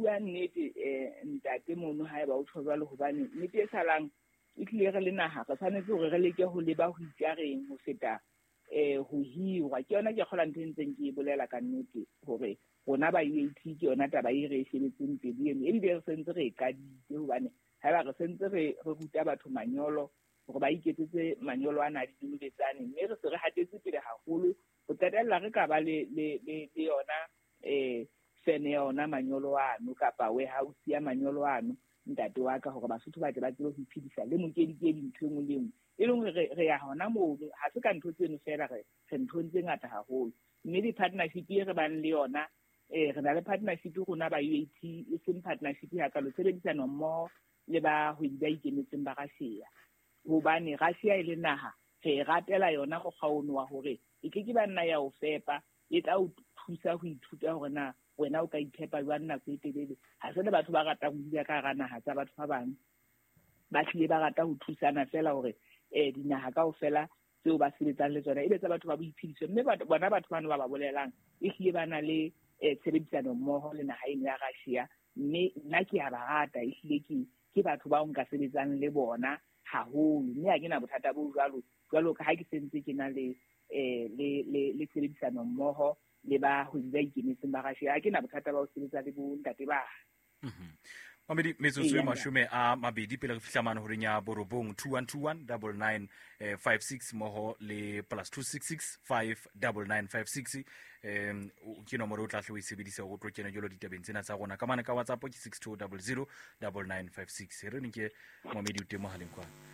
bua nnete ntate mono haeba o tjho jwalo, hobane nnete e salang e tlile re le naha re tshwanetse hore re leke ho leba ho itjareng ho feta ho hirwa. Ke yona ke kgola ntho e ntseng ke e bolela ka nnete hore rona ba UAT ke yona taba e re e shebetseng pele eno, ebile re sentse re e qadile, hobane haeba re sentse re ruta batho manyolo hore ba iketsetse manyolo ana a dinonobetsane, mme re se re hatetse pele haholo ho qetella re ka ba le yona fene ya ona manyolo ano kapa warehouse ya manyolo ano, ntate wa ka, hore Basotho ba tle ba tsebe ho iphedisa le mokedikedi ntho e nngwe le e nngwe. E leng hore re ya hona mono, ha se ka ntho tseno feela, re nthong tse ngata haholo. Mme di-partnership e re bang le yona, re na le partnership rona ba UAT, e seng partnership hakalo, tshebedisano mmoho le bahwebi ba ikemetseng ba Russia. Hobane Russia e le naha, re e ratela yona mokgwa ono wa hore e ke ke ba nna ya o fepa, e tla o thusa ho ithuta hore na wena o ka iphepa jwang nako e telele. Ha se le batho ba ratang ho dula ka hara naha tsa batho ba bang, ba hlile ba rata ho thusana feela hore dinaha kaofela tseo ba sebetsang le tsona e be tsa batho ba boiphediso. Mme bona batho bano ba ba bolelang e hlile ba na le tshebedisano mmoho le naha eno ya Russia, mme nna ke a ba rata, e hlile ke batho bao nka sebetsang le bona haholo, mme ha ke na bothata bo jwalo jwalo ka ha ke sentse ke na le le tshebedisano mmoho le bahwebi ba ikemetseng ba Russia. Ha ke na bothata ba ho sebetsa le bo ntate ba. Mamedi, metsotso e 20 pele re fihla mane horeng ya 9, 2121 99 56 mmoho le plus 266 5 99 56, ke nomoro o tla hle o e sebedisa hore o tlo kena jwalo ditabeng tsena tsa rona. Ka mane ka WhatsApp ke 6200 9956. Re nke Mamedi o teng mohaleng kwana.